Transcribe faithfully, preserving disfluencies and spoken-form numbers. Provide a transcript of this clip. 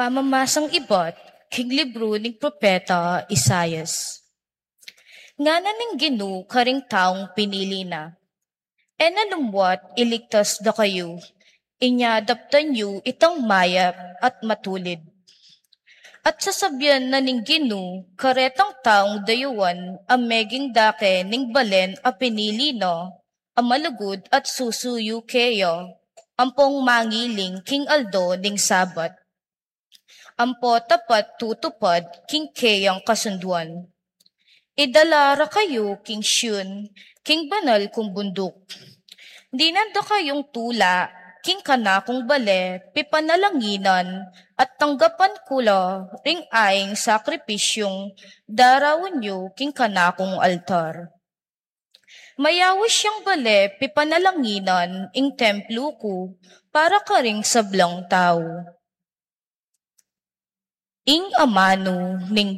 Pamamasang ibat king libru ning propeta Isaias. Ngana ning Ginu karing taung pinili na, e na lumwat iligtas da kayu, inya daptan yu itang mayap at matulid. At sasabian na ning Ginu karetang taung dayuan a meging dake ning balen a pinili na, a malugud at susuyu keya, ampong mangiling king aldo ning Sabat, ampo tapat tutupad king keyang kasunduan. Idala ra kayu king Siyon, king banal kung bunduk. Dinan da kayung tula king kanakung bale pipanalanginan, at tanggapan ku la ring aing sakripisyung daraun yu king kanakung altar. Mayaus yang bale pipanalanginan ing templu ku para karing sablang tau. Ing amanu ning